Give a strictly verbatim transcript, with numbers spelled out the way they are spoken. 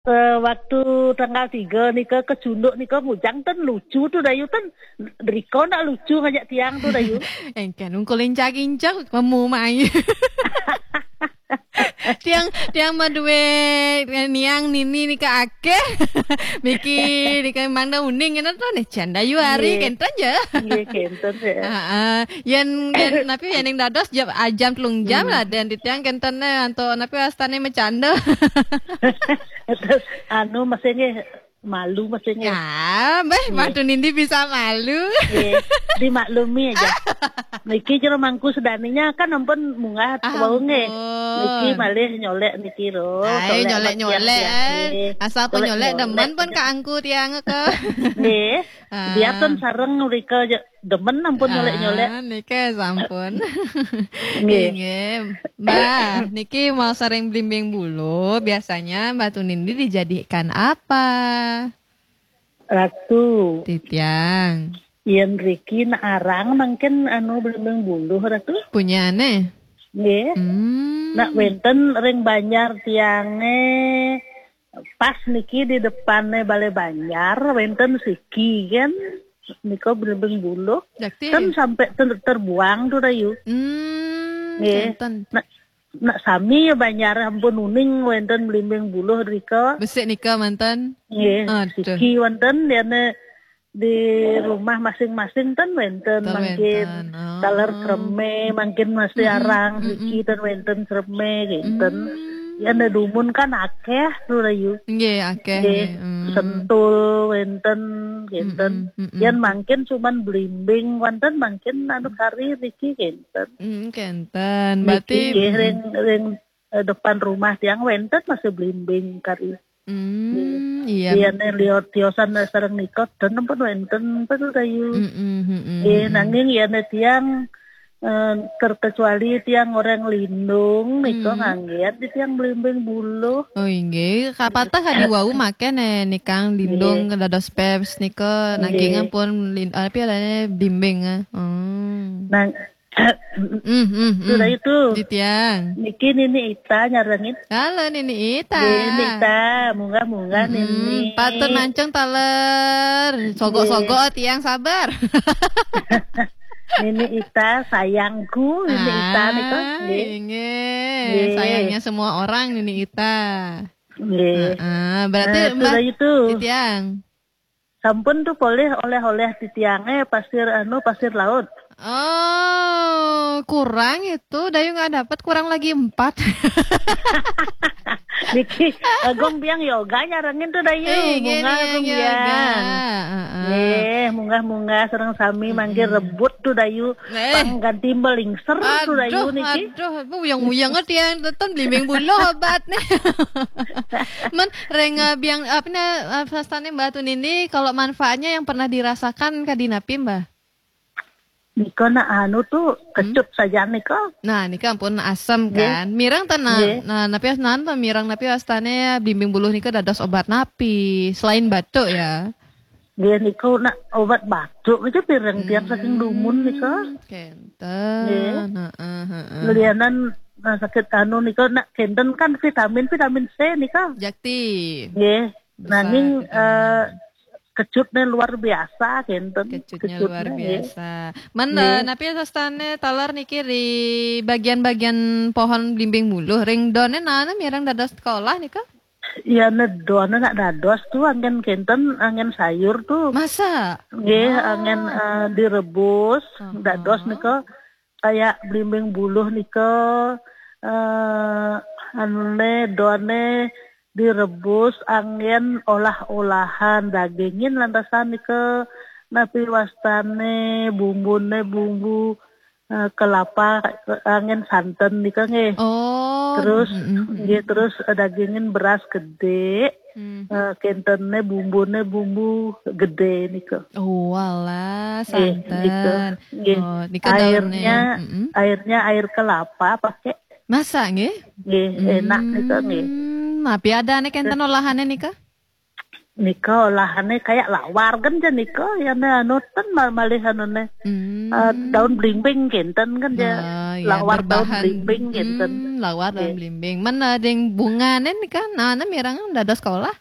Eh, waktu tanggal tiga nika ke Cunduk nika ngujang ten lucu tu Dayu ten. Riko nak lucu ngajak tiang tu Dayu. Engken ungkul incak-incak memu mai. Tiang tiang madue niang nini nika akeh. Miki nika mang da uning kena tu nih canda yu hari. Nggih. Kenten je. Nggih, kenten je. Heeh. Yen yen napi yen ing dados jam ajam telung jam. Hmm. Lah dan titiang kenten ne anto napi wastane macanda. Terus anu masih nggih malu masih nggih. Ya, mbah, nggih. Madu nindi bisa malu. Nggih, dimaklumi aja. Niki jero mangku sedaninya kan ampun munggah. Ah, wau nggih. Ampun. Niki malih nyolek niki ro. Ae, nyolek-nyolek, eh. Nggih. Asal pun nyolek, nyolek demen pun aja. Kaangku tiang ke. Nggih. Ah. Biar pun sareng mrika je demen ampun nyolek-nyolek. Ah, niki sampun. Nggih. Nggih. Mbah, niki mau sering blimbing bulu, biasanya Mbah Tunindi dijadikan apa? Ratu. Titiang. Yen riki nak arang mangkin anu blimbing bulu, Ratu. Punyane? Nggih. Hmm. Nak wenten ring banjar tiange pas niki di depane Balai Banjar wenten siki kan nika blimbing bulu. Jakti. Kan sampai ter- terbuang tu Dayu. Hmm, nggih. Kenten. Nak nak sami ya banjar ampun uning wenten blimbing bulu rika. Besik nika manten. Nggih, aduh. Siki wenten diane di rumah masing-masing ten wenten. Ten mangkin wenten. Oh. Taler kreme mangkin masih arang, mm-mm, siki ten wenten kreme kenten. Mm. Yan ada dumun kan akeh tu Dayu. Nggih, akeh. Nggih, nggih. Mm. Sentul wenten kenten. Mm-mm, mm-mm. Yan mangkin cuman blimbing wenten mangkin anu kari riki kenten. Mm, kenten. Berarti niki nggih, mm-mm, ring ring eh, depan rumah tiang wenten masih blimbing kari. Hmm, iya. Iya ne liot tiosan sareng nikot dan pun wenten pun Dayu. Mm-mm, mm-mm, eh, mm-mm. Nanging iya ne tiang eh, terkecuali tiang orang lindung nika, mm, nganggen di tiang blimbing bulu. Oh, inggih. Kapatah kadi wau make ne nikang lindung. Nggih. Dados peps nika nanging. Nggih. Pun lin-, apa ya, blimbing, eh. Hmm. Nang Mm, mm, mm. Sudah itu. Titiang. Niki Nini Ita nyarengin. Halo Nini Ita. Nini Ita, munggah-munggah. Mm-mm. Nini. Patut mancung taler. Sogok-sogok. Nggih. Tiang sabar. Nini Ita sayangku, Nini Ita nika. Ah, nggih. Inggih. Nggih. Sayangnya semua orang Nini Ita. Nggih. Heeh, berarti nah, Mbah sudah itu. Titiang. Sampun tu polih oleh-oleh titiange pasir anu pasir laut. Oh, kurang itu. Dayu nggak dapat, kurang lagi empat. Niki, eh, gong biang yoga nyarengin tu Dayu. Eh, munggah gong biang. Heeh. Eh, munggah-munggah sareng sami mangke rebut tu Dayu. Eh. Pang ganti melingser tu Dayu niki. Aduh, aduh, bu yang muyang tiang teton blimbing bulu obat nih. Men reng eh, biang apa nih eh, pastane Mbah Tunindi kalau manfaatnya yang pernah dirasakan kadi napi Mbah? Nika nak anu tu kecut saja nika. Nah, nika ampun asam kan. Mirang tenan. Nah, napi nan to mirang napi wastane blimbing buluh nika dados obat napi selain batuk ya? Nggih, niku nak obat batuk aja pireng tiang saking dumun nika. Hmm, kenten. Nggih. Heeh, heeh. Lianan nah, sakit anu nika nak kenten kan vitamin vitamin C nika. Jakti. Nggih. Nanging eh, kecutnya luar biasa kenten. Kecutnya luar biasa. Mana napi sastane taler niki di bagian-bagian pohon blimbing buluh ring done nana mirang dados sekolah nika? Ya nedon nak dados tu angin kenten angin sayur tu. Masa? Nggih, angin eh, direbus dados nika kayak blimbing buluh nika eh anu ne done direbus angin olah-olahan dagingin lantasan nika napi wastane bumbune bumbu eh, kelapa angin santen nika nggih. Oh. Terus nggih terus eh, dagingin beras gede. Eh, kentene bumbune bumbu gede nika. Oh, walah, santen. Nggih, nika. Nggih. Oh, nika airnya airnya air kelapa pakai. Masa nggih? Nggih, enak nika nggih. Hmm, napi ada nih kenten olahane nika? Nika olahane kayak lawar kan ja nika, ya ne anu ten mal-, malih anu ne. Hmm. Eh, daun blimbing kinten kan ja. Ah, ya, Lawar daun berbahan. Blimbing kinten. Hmm, lawar daun blimbing. Men, eh, ding bungane nika, nah, nah, mirang dados sekolah.